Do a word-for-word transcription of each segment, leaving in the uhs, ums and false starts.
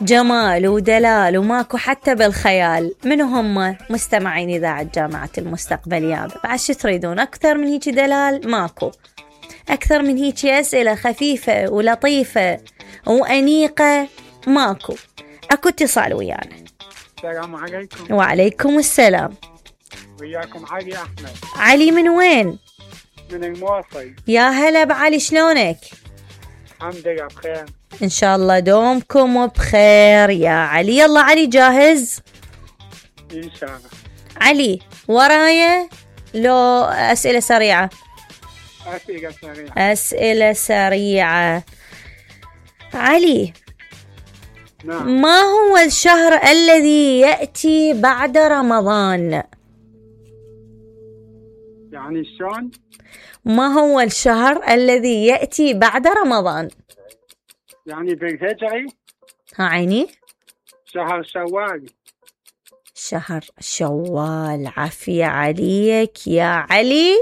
جمال ودلال وماكو حتى بالخيال. منو هم مستمعين إذاعة جامعة المستقبل يابا؟ بعد شو تريدون أكثر من هيك دلال؟ ماكو أكثر من هيك أسئلة خفيفة ولطيفة وأنيقة ماكو. أكو اتصال ويانا. السلام عليكم. وعليكم السلام. وياكم علي أحمد. علي من وين؟ من المواصل. يا هلا بعلي، شلونك؟ الحمد لله بخير إن شاء الله دومكم بخير يا علي. يلا علي جاهز؟ إن شاء الله. علي ورايا لو أسئلة سريعة؟ أسئلة سريعة. أسئلة سريعة. علي. نعم. ما هو الشهر الذي يأتي بعد رمضان؟ يعني شلون؟ ما هو الشهر الذي يأتي بعد رمضان؟ يعني بالهجري؟ ها عيني. شهر شوال. شهر شوال. عافية عليك يا علي،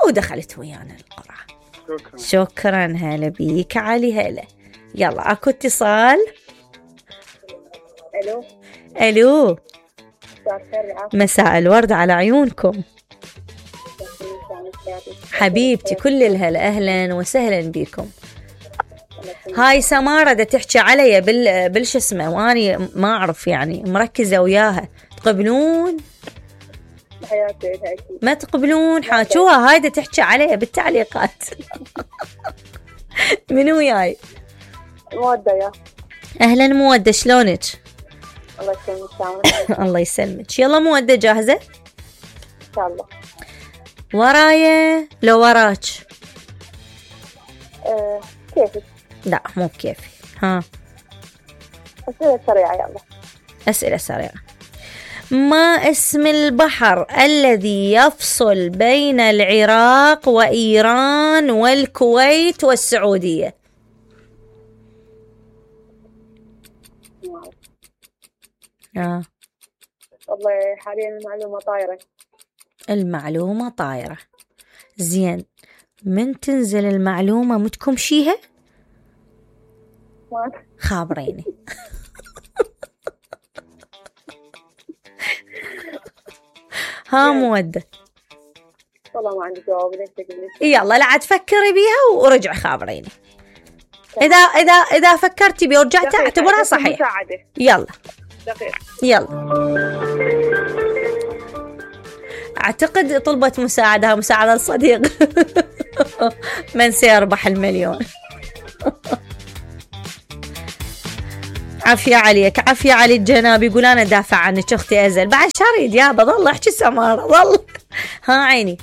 ودخلت ويانا القرعة. شكرا. شكرا. هلا بيك علي. هلا. يلا أكو اتصال. ألو. ألو. مساء الورد على عيونكم حبيبتي. كل الهلا. أهلا وسهلا بكم. هاي سمارة دا تحكي علي بال بالش اسمه، واني ما أعرف يعني مركزة وياها. تقبلون؟ ما تقبلون؟ حاجوها هاي دا تحكي علي بالتعليقات. منو وياي؟ مودة. يا أهلا مودة، شلونك؟ الله يسلمك. الله يسلمك. يلا مودة جاهزة؟ إن شاء الله. ورايا لو وراك؟ أه كيفك؟ لا مو بكيفي. ها أسئلة سريعة. يلا أسئلة سريعة. ما اسم البحر الذي يفصل بين العراق وإيران والكويت والسعودية؟ آه. والله حاليا المعلومة طايرة. المعلومة طايرة. زين، من تنزل المعلومة متكمشيها؟ خابريني. ها مودة. والله ما عندي جواب. يلا لا تفكري بيها ورجع خابريني. إذا إذا إذا فكرتي بيها ورجعت اعتبرها صحيح. يلا دقيقة. يلا. أعتقد طلبت مساعدة مساعدة الصديق. من سيربح المليون. عافية عليك. عافية علي الجناب. يقول أنا دافع عنك أختي أزل. بعد شريد يا بضل أحكي سمارة ضل. ها عيني.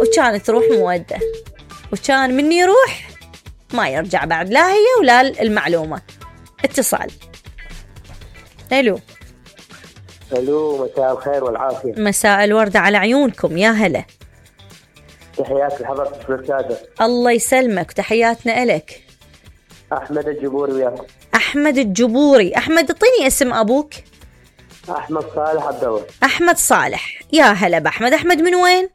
وكانت تروح مودة، وكان مني يروح ما يرجع بعد، لا هي ولا المعلومة. اتصال. ألو. ألو. مساء الخير والعافية. مساء الورد على عيونكم. يا هلا. تحياتي لحضرتك الأستاذة. الله يسلمك. تحياتنا إلك. أحمد الجبوري وياكم. أحمد الجبوري. أحمد اعطيني اسم أبوك. أحمد صالح عبد الله. أحمد صالح. يا هلا بأحمد. أحمد من وين؟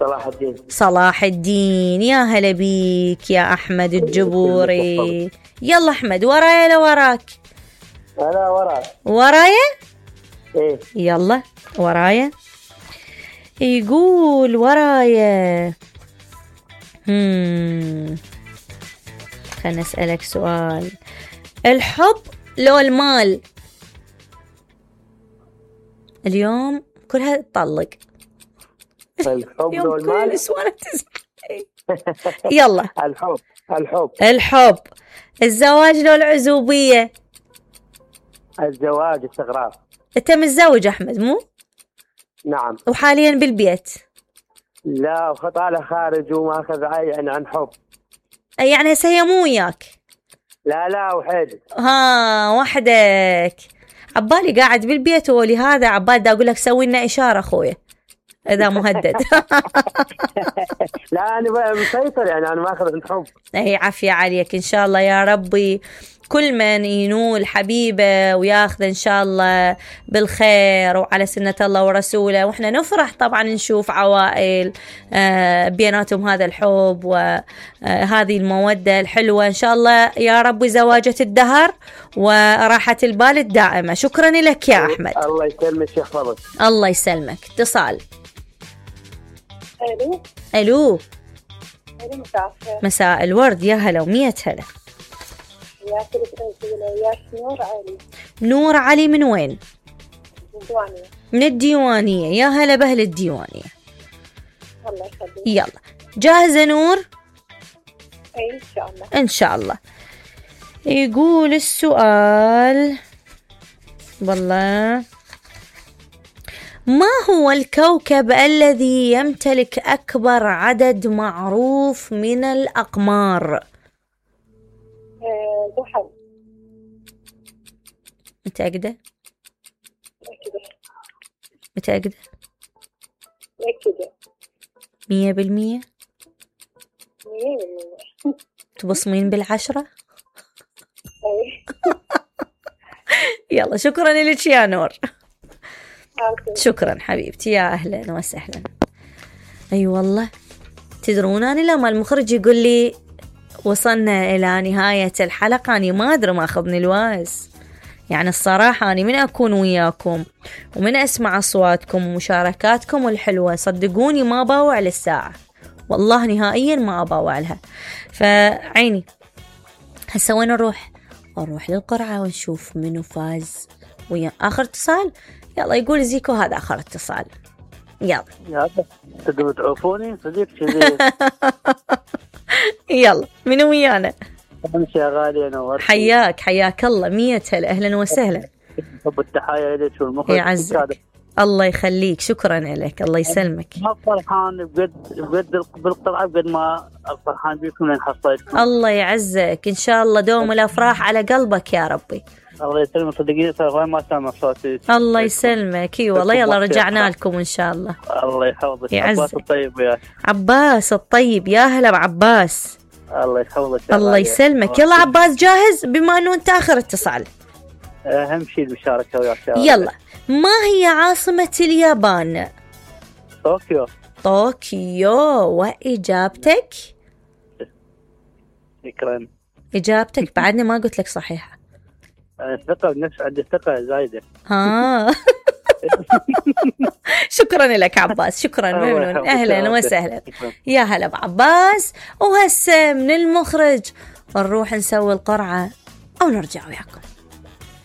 صلاح الدين. صلاح الدين. يا هلا بيك يا أحمد الجبوري. يلا أحمد ورايا لو وراك؟ أنا وراك. ورايا؟ إيه. يلا ورايا. يقول ورايا. هم خلنا أسألك سؤال. الحب لو المال؟ اليوم كلها تطلق. الحب لو المال. يلا. الحب. الحب. الحب. الزواج لو العزوبية؟ الزواج. استغراب. انت متزوج أحمد مو؟ نعم. وحاليا بالبيت؟ لا، وخطالة خارج وماخذ يعني عن حب. يعني هسه هي مو وياك؟ لا لا وحيد. ها وحدك. عبالي قاعد بالبيت ولهذا عبالي دا أقول لك سوي لنا إشارة أخويا. إذا مهدد. لا أنا بقى مسيطر، يعني أنا ماخذ عند حب. أي عافية عليك إن شاء الله يا ربي. كل من ينول حبيبه وياخذ إن شاء الله بالخير وعلى سنة الله ورسوله، وإحنا نفرح طبعا نشوف عوائل بيناتهم هذا الحب وهذه المودة الحلوة إن شاء الله يا ربي، زواجة الدهر وراحة البال الدائمة. شكرا لك يا أحمد. الله يسلمك يحفظك. الله يسلمك. اتصال. الو ألو. الو مساء الخير. مساء الورد، يا هلا ومية هلا. وياك وياك نور علي. نور علي من وين؟ من الديوانية. من الديوانية، يا هلا بأهل الديوانية. الله يخليك. يلا جاهزة نور؟ اي ان شاء الله. ان شاء الله. يقول السؤال والله، ما هو الكوكب الذي يمتلك أكبر عدد معروف من الأقمار؟ زحل. متأكدة؟ متأكدة. متأكدة؟ متأكدة. مية بالمية؟ مية بالمية. تبصمين بالعشرة؟ اي. يلا شكرا لك يا نور. أوكي. شكرا حبيبتي، يا أهلا وسهلا. أي أيوة والله تدرون أنا لما المخرج يقول لي وصلنا إلى نهاية الحلقة أنا ما أدري ما أخذني الواز. يعني الصراحة أنا من أكون وياكم ومن أسمع أصواتكم ومشاركاتكم الحلوة صدقوني ما باوع للساعة، والله نهائيا ما أباوع لها. فعيني هسا وين نروح؟ نروح للقرعة ونشوف منو فاز ويا آخر اتصال. يلا يقول زيكو هذا آخر اتصال. يلا يلا تقدروا تعوفوني صديق كذي. يلا منو ويانا؟ امشي يا غالي. انا حياك حياك الله، مية هلا، اهلا وسهلا. حب التحايا لك والمخرج. يعزك الله يخليك. شكرا لك، الله يسلمك. ما فرحان بجد بجد بالقرعة بقد ما فرحان بكم لين حصلتكم. الله يعزك ان شاء الله، دوم الافراح على قلبك يا ربي. الله يسلمك صدقيني صراحة ما سامع صوتي. الله يسلمك. اي والله يلا رجعنا لكم ان شاء الله. الله يحفظك. يعزك. عباس الطيب وياك. عباس الطيب، يا هلا بعباس. الله يحفظك. الله يسلمك. يلا عباس جاهز بما انه انت اخر اتصال؟ اهم شيء المشاركة وياك. يلا، ما هي عاصمة اليابان؟ طوكيو. طوكيو. واجابتك؟ شكرا. اجابتك بعدني ما قلت لك صحيحة. الثقة بنفس، عندي ثقة زايدة. ها. شكرا لك عباس، شكرا ممنون، اهلا وسهلا. يا هلا بعباس. وهسه من المخرج نروح نسوي القرعة او نرجع وياكم.